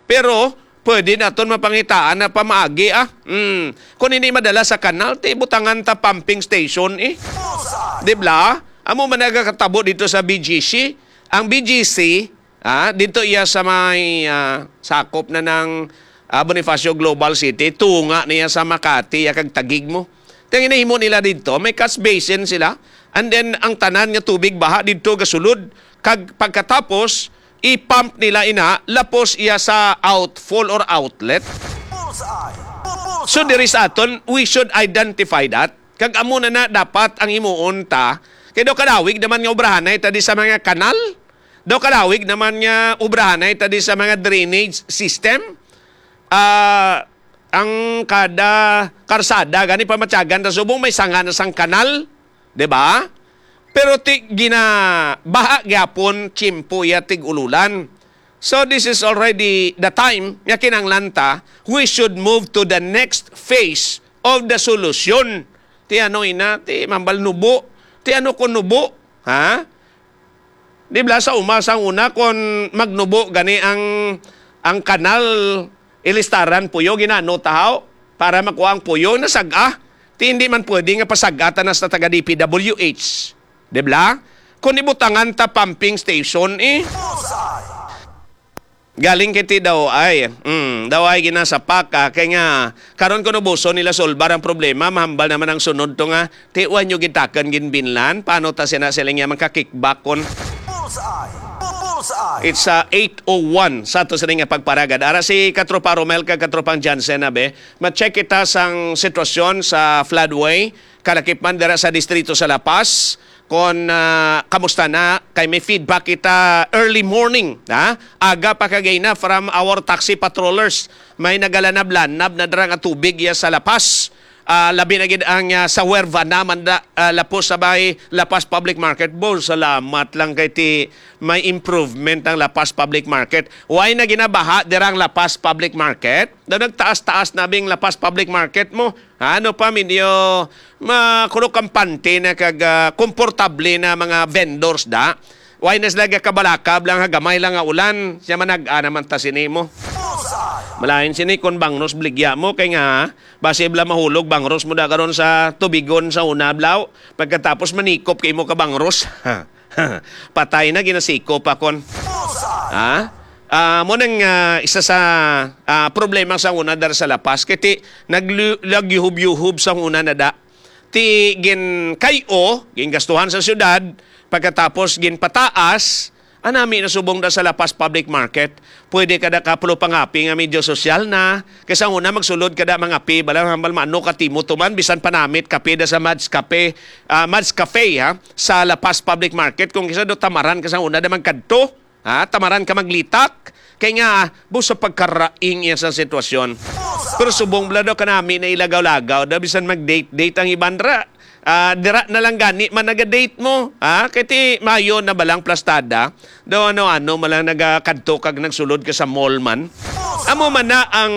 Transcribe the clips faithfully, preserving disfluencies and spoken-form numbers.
Pero pwede naton mapangitaan na pamaagi, ah. Mm. Kung hindi madala sa kanal, ti butangan ta pumping station, eh. Di ba? Amo man nagakatabo dito sa B G C. Ang B G C, ah, dito iya sa may, ah, sakop na ng, ah, Bonifacio Global City, tunga niya sa Makati, ya kag Taguig mo. Ang ginahimo nila dito, may catch basin sila, and then ang tanan nga tubig baha dito gasulod, kag pagkatapos, i-pump nila ina, lapos iya sa outfall or outlet. So, diri sa aton, we should identify that. Kag amo na na dapat ang himuon ta. Kay daw kadawig naman nga obrahanay ta di sa mga kanal. Daw kadawig naman nga obrahanay ta di sa mga drainage system. Ah, ang kada karsada gani pamatyagan ta subong may sanga na sang kanal, di ba? Pero ti ginabaha gyapon tiyempo iya tig-ululan. So this is already the time nga kinahanglan ta, we should move to the next phase of the solution. Ti ano ina, ti mambal nubo, ti ano ko nubo, ha? Di ba sa uma sang una kon magnubo gani ang, ang kanal, ilistaran puyo, ginano tahaw para makuha ang puyo, nasag-a. Ti hindi man pwede nga pasag-a ta na sa taga D P W H. Di ba? Kung ibutangan ta pumping station, eh. Galing kay ti daw ay, mm, daw ay ginasapak, ah, kay nga karon kuno buson nila solbar ang problema, mahambal naman ang sunod to nga, ti wa nyo gitakan ginbinlan, paano ta sina sila nga magka-kickback kon Bullseye! Bullseye! It's, uh, eight oh one sa ato sini nga pagparagad. Ara si Katropa Romel kag Katropang Jansen, abe. Ma-check kita sang sitwasyon sa floodway, kalakip man dira sa distrito sa La Paz. Kon, ah, kamusta na? Kay may feedback kita early morning, ha? Aga pa kagay na from our taxi patrollers. May nagalanab-lanab na dira nga tubig ya sa La Paz. Ah, labi na gid ang, ah, sa Huerva naman da, ah, lapos sa bay La Paz Public Market. Bon, salamat lang kay ti may improvement ang La Paz Public Market. Why na ginabaha dira ang La Paz Public Market? Daw nagtaas-taas na bing La Paz Public Market mo. Ano pa, medyo makuno kampante na kag, ah, komportable na mga vendors da. Why na sila gakabalakab lang ha gamay lang nga ulan? Siya manag-a naman ta sini mo. Malain sini kung bangros bligya mo kay nga basi bala mahulog bangros mo da karon sa tubigon sa una blaw. Pagkatapos manikop kay mo ka bangros. Patay na, ginasikop pa kon. Ha? Ah, mo nang, ah, isa sa, ah, problema sa una dar sa La Paz kay ti naglu-, nagyuhub-yuhub sa una na da. Ti gin kay-o, gingastuhan sa syudad, pagkatapos ginpataas, anami na subong da sa La Paz Public Market. Pwede ka da kapulo pangapi nga medyo sosyal na, kay sa una magsulod ka da mangapi, bala hambal maano ka timo tuman, bisan panamit kape da sa Mads Cafe, ah, Mads Cafe, ha, sa La Paz Public Market, kung kisa do tamaran ka sa una da magkadto, ha, tamaran ka maglitak, kay nga, busa pagkaraing iya sa sitwasyon. Pero subong bala daw kanami na ilagaw-lagaw, daw bisan mag-date-date ang iban ra. Ah, dira na lang gani man naga-date mo, ha? Kay ti mayo na balang plastada, daw ano-ano man lang nagakadto kag nagsulod ka sa mall man. Amo man na ang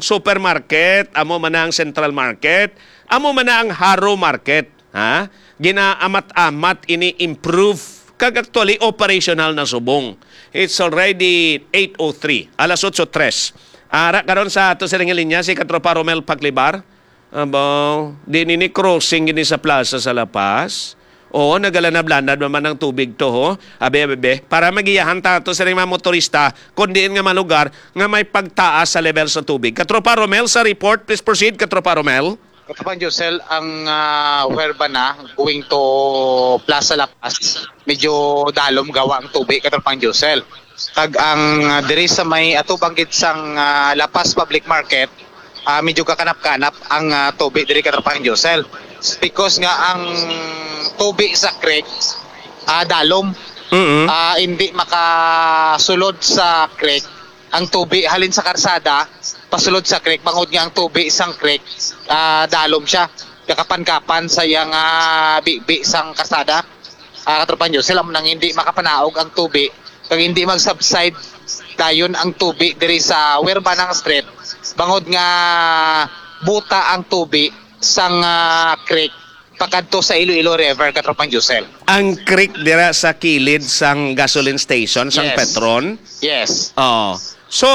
supermarket, amo man na ang central market, amo man na ang Haro Market, ha? Ginaamat-amat ini improve kag actually operational na subong. It's already eight oh three, alas otso tres. Ara karon sa ato sining linya si Katropa Romel Paclibar. Abaw, di nini crossing gini sa plaza sa La Paz. Oo, nagalanab-lanab naman ang tubig to, ho. Abe, abe, abe. Para magiyahan ta to sa mga motorista, kung diin nga malugar nga may pagtaas sa level sa tubig. Katropa Romel, sa report, please proceed, Katropa Romel. Katropang Josel, ang, ah, Huerba na, going to Plaza La Paz, medyo dalom gawa ang tubig, Katropang Josel. Kag ang, ah, diri sa may atubang gid sang, ah, La Paz Public Market, ah, medyo kakanap-kanap ang, ah, tubig diri, Katropang Josel. Because nga ang tubig sa creek, ah, dalom. Mm-mm. Ah, hindi makasulod sa creek ang tubig halin sa karsada, pasulod sa creek, bangod nga ang tubig sang creek, ah, dalom siya. Kakapan-kapan sa iyang, ah, bibi sang karsada. Ah, Katropang Josel, amo nang hindi makapanaog ang tubig, kag hindi mag-subside dayon ang tubig diri sa Huerbanang Street, bangod nga buta ang tubig sang, ah, creek pakadto sa Iloilo River, Katropang Josel. Ang creek dira sa kilid sang gasoline station, sang Yes. Petron? Yes. Oh. So,